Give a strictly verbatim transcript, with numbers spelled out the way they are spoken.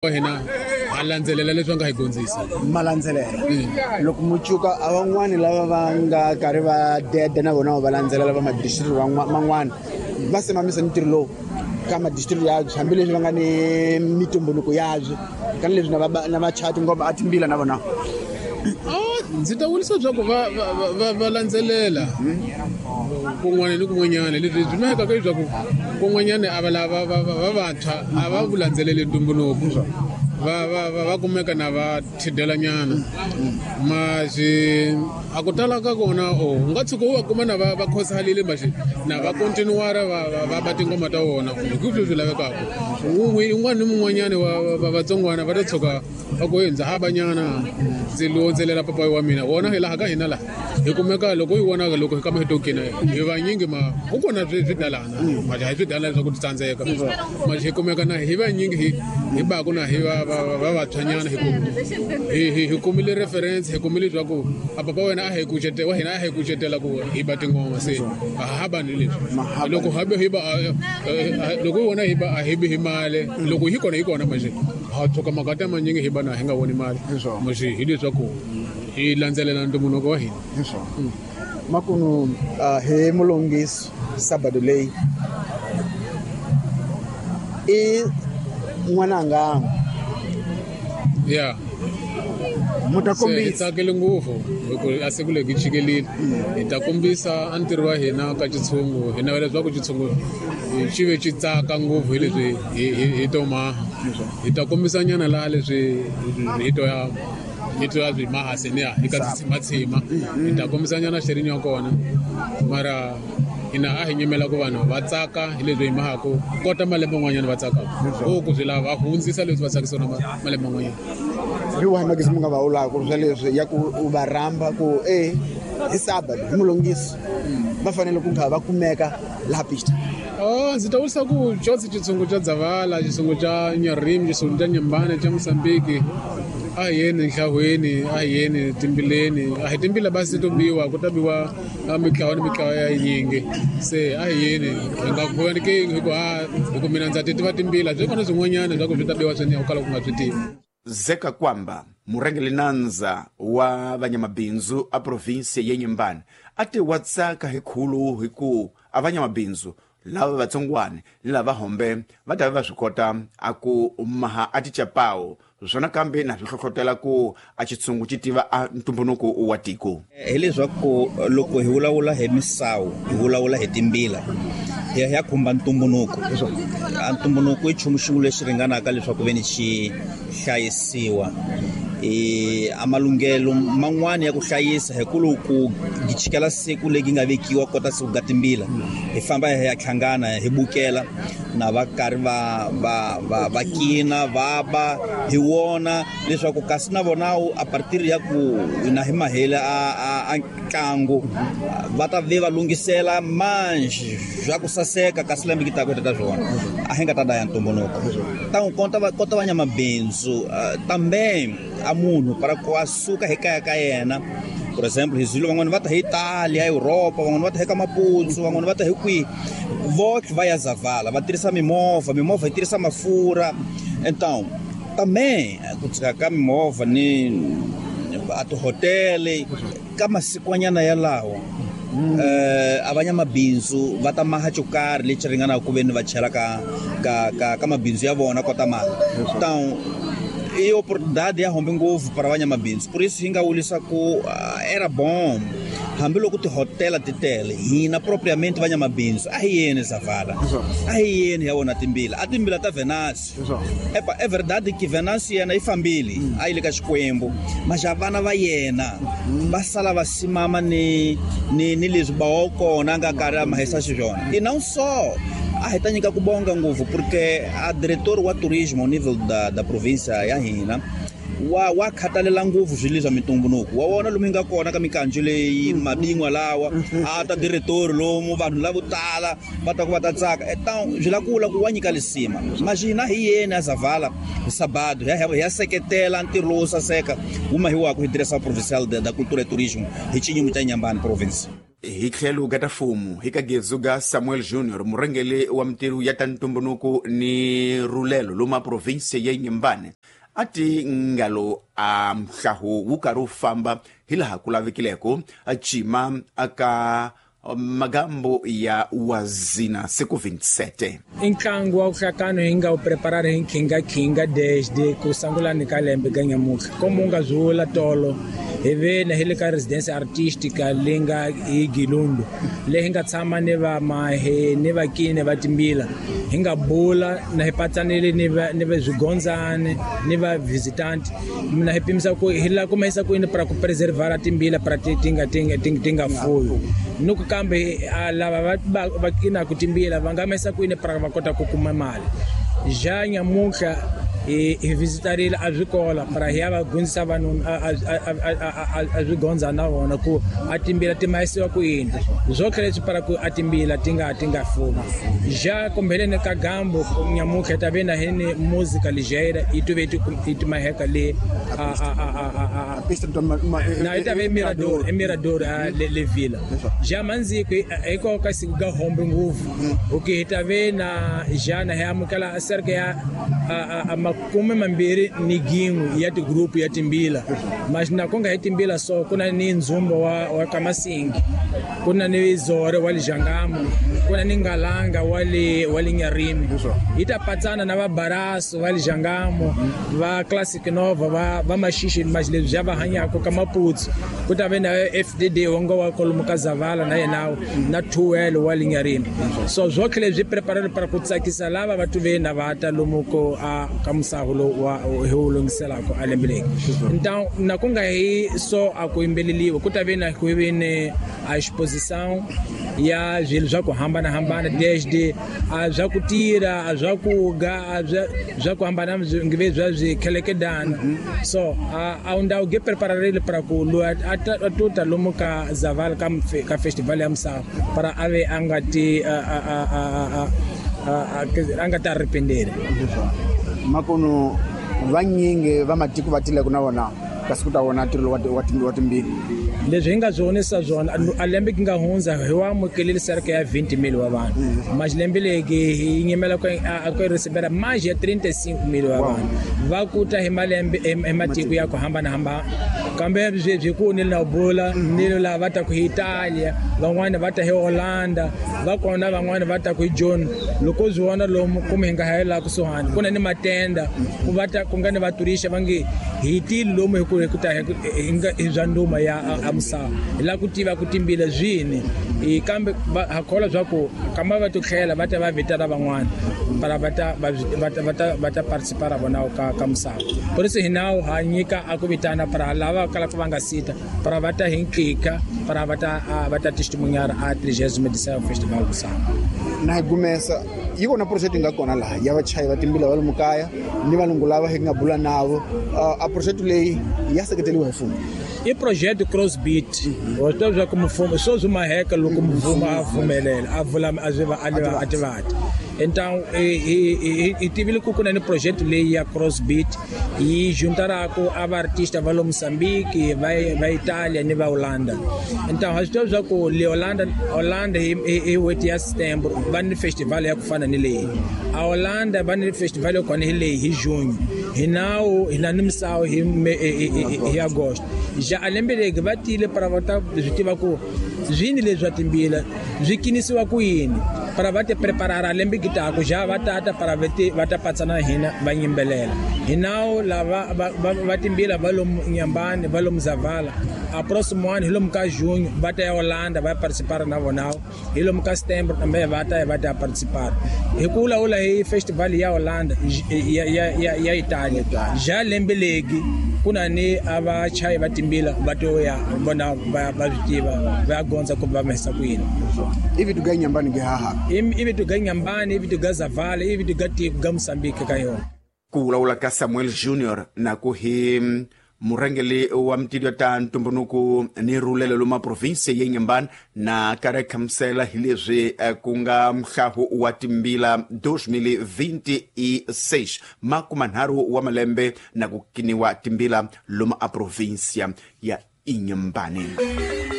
Wa hina a landzelela leswi va nga hi dyondzisa. Ma landzelela loko mucuka a van'wani lava va nga karhi va dede na vona va landzelela va madistricts man'wana va simamisa ntirho lowu ka madistricts yabyo, hambileswi va nga ni mitumbuluko yabyo ka leswi na va na va chati ngoma a timbila na vona. Ndzi ta vurisa leswaku va va va va landzelela kun'wana ni kun'wanyana. Leswi byi mahekaka leswaku kun'wanyana a va lava va va vantshwa a va vu landzeleli ntumbuluko, va va va va kumeka na va thidelanyana maxi a ku tala ka kona. O u nga tshuka u va kuma na va va khosalile maxi na va continuara va va ba tingoma ta vona hi ku swi lavekaka. Un'wana ni mun'wanyana wa va vatsongwana va ta tshuka va ku ndza ha banyana ndzi londzelela papayi wa mina wona hi laha ka hina laha hi kumeka loko yi vonaka loko hi kama hi tokina hi vanyingi ma ku kona swi swidalana manje a hi swidalana leswaku ti tsandzeka manje hi kumeka na hi vanyingi hi hi baku na hi va va va vantshwanyana hi ku hi hi hi kumile reference, hi kumile leswaku a papa wena a hi kucetela wa hina a hi kucetela ku hi ba tingoma se a ha bani leswi loko habe hi ba loko hi vona hi ba a hi bi hi mali loko hi kona hi kona manje ha tshuka makata manyingi hi ba na hi nga voni mali manje hi leswaku hi landzelela ntumbuluko wa hina. Makunu hi mulungisi sabado leyi i n'wananga ya mu ta kombisa hi tsakele ngopfu loko a siku leri chikelile hi ta kombisa a ntirho wa hina ka xitshungu. Hi navela leswaku xitshungu xi ve xi tsaka ngopfu hi leswi hi hi to maha. Hi ta kombisa nyana laha leswi hi to ya hi to ya swi maha se ni ya hi ka tshimatshima hi ta kombisa nyana xerinyo ya kona mara hina a hi nyimela ku vanhu va tsaka hi leswi hi mahaku kota malembe man'wanyana va tsakaka o ku swi lava va hundzisa leswi va tsakisona malembe man'wanyana. Hi wahi magezi mi nga va vulaka swa leswi ya ku u va rhamba ku e hi sabado hi mulungisi va fanele ku kha va kumeka laha pista? Oh, ndzi ta vurisa ku xotsi xitshungu xa Dzavala, xitshungu xa Nyarimi, xitshungu xa Nyembane, xa Mozambique, a hi yeni nhlahweni, a hi yeni timbileni, a hi timbila basi to biwa ku ta biwa mitlawa ni mitlawa ya yinyingi se a hi yeni hi nga khuvaniki hi ku a hi ku mina ndza ti tiva timbila byi kona swin'wanyana swa ku swi ta biwa swini u kala ku nga swi tivi. Zeka Kwamba murhangeri nandza wa vanyamabindzu a provinsi ya Nyembane a ti wa tsaka hi khulu hi ku a vanyamabindzu lava vatsongwana ni lava hombe va ta va swi kota a ku maha a tichapawo swona kambe na swi hlohlotela ku a xitshungu xi tiva a ntumbuluko wa tiko. Hi leswaku loko hi vulavula hi misawu hi vulavula hi timbila hi ya khumba ntumbuluko. A ntumbuluko i nchumu xin'we lexi ringanaka leswaku ve ni xi hlayisiwa. E a malunghelo man'wani ya ku hlayisa hi ku loko chikela siku legi nga vekiwa kota siku ga timbila hi famba hi ya hlangana hi bukela na va karhi va va va va kina va ba hi wona leswaku kasi na vona a partir ya ku na hi mahela a a ntlangu va ta ve va lunghisela manji swa ku saseka kasi lembe ki ta ku ta swona a hi nga ta daya ntumbuluko ta n'wi kota va kota va nyamabindzu também a munhu para ku a suka hi kaya ka yena. Por exemplo, hi Zulu van'wana va ta hi Italia, Europa, van'wana va ta hi ka Maputo, van'wana va ta hi kwihi votlhe va ya Zavala va tirhisa mimovha, mimovha yi tirhisa mafurha. Então também ku tshika ka mimovha ni a tihotele ka masikwanyana yalawo eh a vanyamabindzu va ta maha xo karhi lexi ringanaka ku ve ni va chela ka ka ka ka mabindzu ya vona kota mali. Então e oportunidade ya hombe ngopfu para vanyamabindzu, por isso hi nga wulisa ku era bom hambiloko tihotela ti tele hina propriamente vanyamabindzu a hi yeni Zavala, a hi yeni ya vona timbila a timbila ta Venancio. Epa é verdade que Venancio yena yi fambile a yi le ka Xikwembu maxa vana va yena va sala va simama ni ni ni leswi bawa kona a nga karhi a mahisa xiswona. E não só a hi ta nyika ku bonga ngopfu porque a diretor wa turismo ao nível da da província ya hina wa wa khatalela ngopfu swilo swa mitumbuluko wa wona lomu hi nga kona ka mikanjo leyi mabin'wa lawa a ta diretor lomu vanhu lavo tala va ta ku va ta tsaka. Então swi la kula ku wa nyika lisima maxina hi yena a Zavala hi sabado hi ya hi ya seketela ntirho lowo saseka wu mahiwaka hi Direção Provincial da, da Cultura e Turismo hi Xinyingu xa Nyambani province. Hi tlhelo ka ta mfumo hi ka gezu ga Samuel Junior murhangeri wa mintirho ya ta ntumbuluko ni rulelo loma province ya Inhambane a ti ngalo a mhlaho wu karhi wu famba hi laha ku lavekileko a cima aka magambo ya wazina siku vinte e sete. I ntlangu wa vuhlakano hi nga wu preparara hi nkhinga-khinga desde ku sungulani ka lembe ka nyamutlha como u nga zwi vula tolo hi ve na hi le ka residence artistica leyi nga hi Gilundu leyi hi nga tshama ni vamahe ni vakini va timbila hi nga bula na hi patsanile ni va ni va swigondzani ni va visitant na hi pimisa ku hi lava ku mahisa ku yini para ku preservar timbila para ti ti nga ti nga ti nga fuyi ni ku kambe lava va va va kinaka timbila va nga mahisa ku yini para va kota ku kuma mali. Ja nyamutlha hi hi visitarile a swikola para hi ya va dyondzisa vanhu a swigondza na vona ku a timbila ti mahisiwa ku yini swotlhe leswi para ku a timbila ti nga ti nga fumi. Ja kumbheleni ka gambo nyamutlha hi ta ve na hi ni música ligeira yi tuve yi ti maheka le a a a a a na yi ta ve Mirador e Mirador le le vila. Ja mandziko hikokwalaho ka siku ga hombe ngopfu okay hi ta ve na ja na hi amukela cerca ya a makume mambirhi ni gin'we ya tigrupu ya timbila mas na ku nga hi timbila so ku na ni ndzumbo wa wa Kamasingi ku na ni Zore wa le Jangamo ku na ni Ngalanga wa le wa le Nyarimi yi ta patsana na va Baraso va le Jangamo va Classic Nova va va Maxixi mas leswi ja va hanyaka ka Maputsu ku ta ve na F D D wa nga wa kwalomu ka Zavala na yena na two L wa le Nyarimi so swotlhe leswi preparele para ku tsakisa lava va tuve na va ta lomu ko a ka musaho lowu wa hi wu lunghiselaka a lembe leri. Então na ku nga hi so a ku yimbeleliwa ku ta ve na ku ve ni a exposição ya swilo swa ku hambanahambana desde a swa ku tirha a swa ku ga a swa ku hambana ngive swa swikhelekedana so a a ndhawu ge prepararile para ku loyi a tuta lomu ka Zavala ka ka festival ya misava para a ve a nga ti a a a a a nga ta arrependere. Makono vanyingi va matiko va tileke na vona kasi ku ta vona ntirho wa wa timbila. Leswi hi nga swi vonisa swona a lembe ki nga hundza hi wa amukelile cerca ya vinte mil wa vanhu mas lembe leki hi nyimela ku a ku recebera mais ya trinta e cinco mil wa vanhu va ku ta hi malembe hi matiko ya ku hambanahambana kambe sweswi ku ni na bula ni lava va ta ku hi Italia van'wani va ta hi Holanda va kona van'wani va ta ku hi Joni loko swi vona lomu kumbe hi nga hayela kusuhani ku na ni matenda ku va ta ku nga ni vaturisha va nge hi tile lomu hi ku hi ku ta hi nga hi swa nduma ya a misava hi lava ku tiva ku timbila swini hi kambe ha kholwa swa ku kamba va to tlhela va ta va vitana van'wana para va ta va ta va ta va ta participar vona ka ka misava por isso hi nawu ha nyika a ku vitana para lava kalaka va nga sita para va ta hi nkika para va ta va ta testemunhar a trigésima edição festival misava. Na hi gumesa yi kona project yi nga kona laha ya vachayi va timbila va le mukaya ni valungu lava hi nga bula navo a project leyi ya seketeriwa hi mfumo. I projeto Crossbeat wa swi tiva swa ku mfumo swo swi maheka loko mfumo a pfumelela a vula a swi va a leva a tivati. Então hi tivile ku ku na ni project leyi ya Crossbeat yi juntaraka a va artista va lo Mozambique va va Italia ni va Holanda. Então ha swi tiva swa ku le Holanda Holanda hi hi n'hweti ya September va ni festival ya ku fana ni leyi a Holanda va ni festival yo kona hi leyi hi Junho hi nawu hi na ni misawu hi hi Agosto. Ja a lembe legi va tile para va ta swi tiva ku swini leswi swa timbila swi kinisiwa ku yini para va te preparara lembe ki taka ja va tata para va te va ta patsana hina va yimbelela hi nawu lava va va timbila va lomu Inhambane va lomu Zavala a próximo ano hi lomu ka junho va ta ya Holanda va participar na vona hi lomu ka September kambe va ta ya va ta participar hi ku vulavula hi festival ya Holanda ya ya ya ya Italia ja lembe legi ku na ni a vachayi va timbila va to ya vona va va swi tiva va ya gondza ku va mahisa ku yini. Ivi tu ga Inhambane ge haha ivi tu ga Inhambane ivi tu ga Zavala ivi tu ga tiko ga Mozambique ka yona. Ku vulavula ka Samuel Junior na ku hi murhangeri wa mintirho ta ntumbuluko ni rulelo loma province ya Inhambane na karhi khamusela hi leswi ku nga mhlaho wa timbila dois mil e vinte e seis makumanharhu wa malembe na ku kiniwa timbila loma a provinsia ya Inhambane.